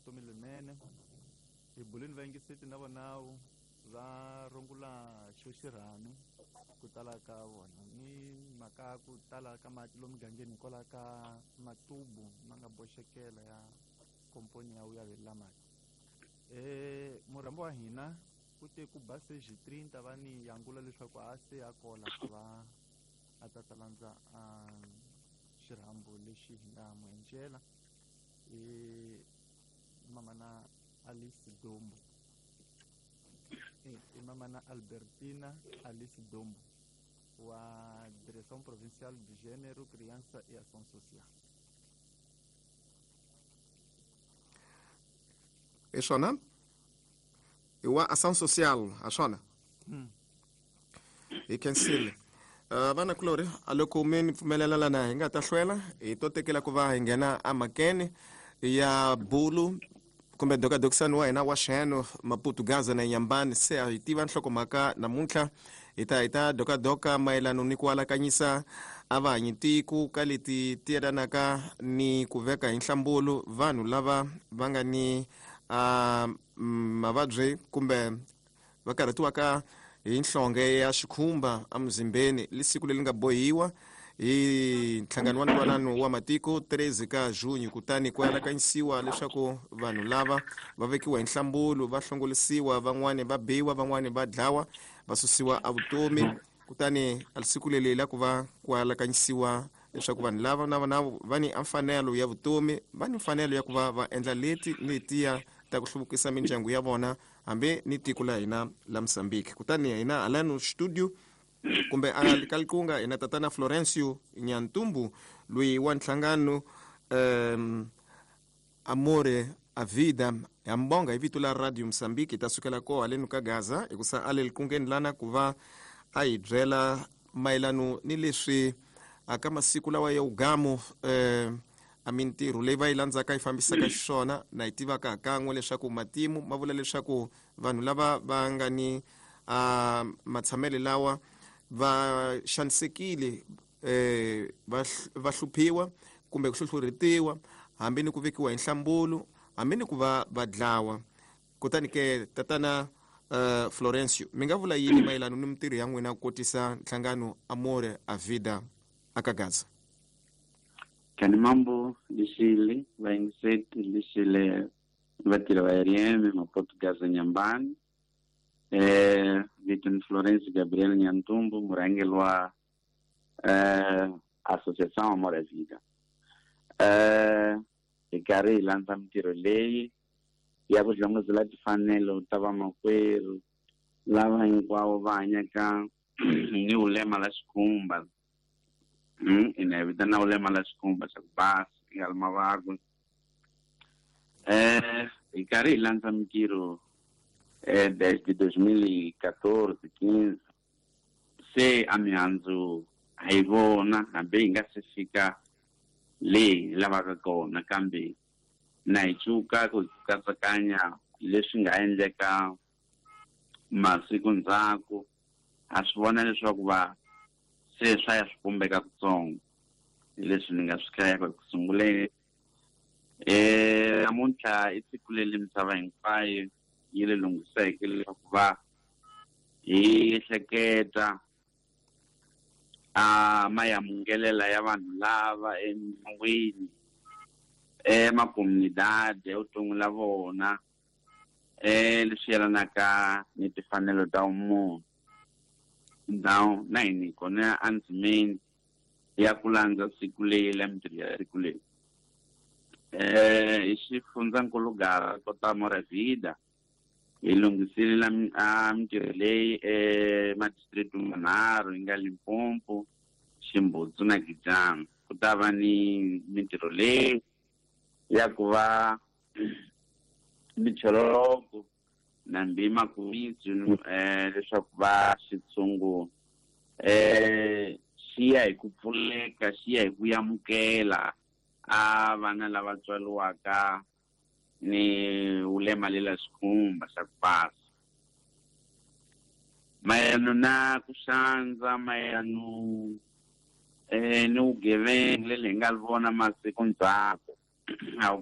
vutomi lerinene. Hi buleni vayingiseti na vonawu va rungula xo xirhami ku tala ka vona ni mhaka ku tala ka mati lomu mugangeni hikwalaho ka matubu ma nga boxekela ya komponi ya vuyavelela mati. Murhambi wa hina ku te ku ba seji 30 va ni yangula leswaku a se a kola ku va a ta ta landza a xirhambo lexi hi nga n'wi encela i mamana Alice Dombo, i mamana Albertina Alice Dombo wa Direction Provinciale du Género, Criança e Ação Social. Hi swona i wa ação social ha swona hi khensile. Vanakulorhi a loko mi ni pfumelela lana hi nga ta hlwela hi to tekela ku va hi nghena emhakeni ya bulu kumbe dokadokisani wa hina wa xeno Maputo Gaza na Nyambani. Se a hi tiva nhlokomhaka namuntlha hi ta dokadoka mayelano ni ku alakanyisa a vahanyi tiko ka leti ti yelanaka ni ku veka hi nhlambulu vanhu lava va nga ni mavabyi kumbe va karhatiwaka hi nhlonge ya xikhumba emuzimbeni. Lisiku leri nga bohiwa hi nhlangano wa ntwanano wa matiko 13 ka junho, kutani ku alakanyisiwa leswaku vanhu lava va vekiwa hi nhlambulu, va hlongolisiwa, van'wani va biwa, van'wani va dlawa, va susiwa evutomi. Kutani siku leri la ku va ku alakanyisiwa leswaku vanhu lava na vona va ni mfanelo ya vutomi, va ni mfanelo ya ku va va endla leti ni letiya ta ku hluvukisa mindyangu ya vona hambi ni tiko la hina la Mozambique. Kutani hina halano studio kumbe a ka likunga hina tatana Florencio Nyantumbu loyi wa nhlangano Amore a Vida ya mbonga hi vito la Radio Mozambique. Hi ta sukela ko haleni ka Gaza hikusa a le likungeni lana ku va a hi byela mayelano ni leswi aka masiku lawa ya ugamu a mintirho leyi va yi landzaka yi fambisaka xiswona. Na yi tivaka kan'we leswaku matimu ma vula leswaku vanhu lava va nga ni matshamelo lawa va xanisekile, va hluphiwa kumbe ku hluhlurhetiwa hambi ni ku vekiwa hi nhlambulu hambi ni ku va va dlawa. Kutani ke tatana Florencio, mi nga vula yini mayelana ni mintirho ya n'wina ku kotisa nhlangano Amore a Vida aka Gaza? Kani mambo lixile vayingiseti, lixile vatirhi va RM Maputo Gaza Nyambani. Vito ni Florence Gabriel Nyantumbu, murhangeri wa Associação Amor à Vida. Hi karhi hi landza mintirho leyi ya ku hlongozela timfanelo ta vamakwerhu lava hinkwavo va hanyaka ni vulema la xikhumba, ina hi vitana vulema la xikhumba xa ku basa nga ri mavabyi. Hi karhi hi landza mintirho desde 2014 15, se a mihandzu ha yi vona hambi hi nga se fika leyi hi lavaka kona, kambe na hi cuka ku katsakanya leswi nga endleka masiku ndzhaku. Ha swi vona leswaku va se swa ya swi pumbeka kutsongo hi leswi ni nga swi hlayaka eku sunguleni. Namuntlha i siku leri misava hinkwayo yi le lunghiseke leswaku va hi hleketa a mayamungelela ya vanhu lava emindyangwini, emakomunidade, evuton'wini la vona, leswi yelanaka ni timfanelo ta vumunhu. Ndhawu na hina kona endzimeni ya ku landza siku leyi la mintirho ya siku leyi hi xifundzankulu Gaza kota Amor a Vida hi lunghisile la a mintirho leyi emadistrict manharhu yi nga Limpopo, Ximbudzu na Gijana. Ku ta va ni mintirho leyi ya ku va michololoko na mbima kumitsu leswaku va xitshungu xi ya hi ku pfuleka, xi ya hi ku amukela a vana lava tswariwaka ni vulema lela xikhumba xa ku basa. Mayelano na ku xandza, mayelano ni vugevenga leli hi nga vona masiku ndzhaku a.